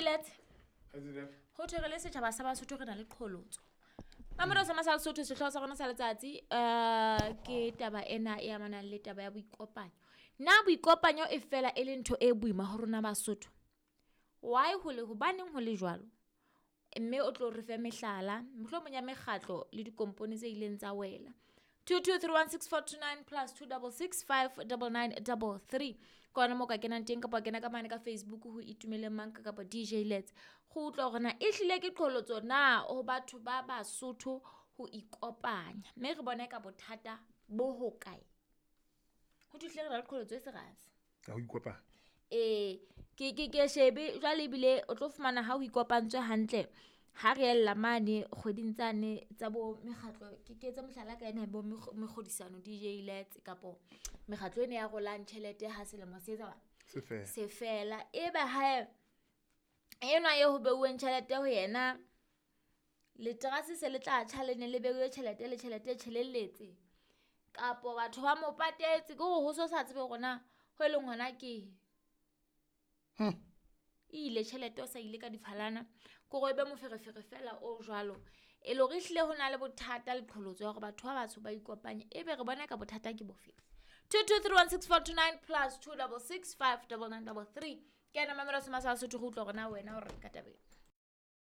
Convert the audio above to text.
Lets ho thwe re le setjhaba sa Basotho re na le qholotso. Mamelodi sa Masala Sotho, sehlooho sa rona sa letsatsi ke taba ena e amanang le taba ya boikopanyo. Na boikopanyo e fela e le ntho e boima ho rona Basotho? Why ho le hobaneng ho le jwalo? Mme o tlo re fe mehlala, mohlomong ya mekgatlo le dikompone tse ileng tsa wela. 22316429 plus 266 59933 ke ona moo ka kenang teng, kapa wa kena ka mane ka Facebook ho Itumeleng Manka kapa DJ Lets. Go utlwa hore na ehlile ke qholotso na ho batho ba Basotho ho ikopanya, mme re bone ka bothata bo hokae. Ho thuhle re na le qholotso e serasi Ya ho ikopanya. Ee, ke shebe jwale, ebile o tlo fumana ha ho ikopantswe hantle, ha re ella mane kgweding tsane tsa bo mekgatlo. Ke etse mohlala ka ena bo mekgodisano, DJ Lets, kapo mekgatlo ena ya rolang tjhelete ha selemo se etsa Se fela. Se fela, ebe hae enwa e ho beuweng tjhelete ho yena, leterase se le tla tjha, le ne le beuwe tjhelete, le tjhelete e tjhelelletse, kapo batho ba mo patetse, ke hore ho so sa tsebe hore na ho e leng hona ke e ile tjhelete, o sa ile ka diphalana, ke hore e be moferefere fela o jwalo. E le hore ehlile ho na le bothata le qholotso ya hore batho ba batsho ba ikopanye, ebe re bona ka bothata ke bofe? 22316429 plus 266 59933 ke ena. Mamela sema sa Sotho, go utlwa hore na wena o reng ka tabeng.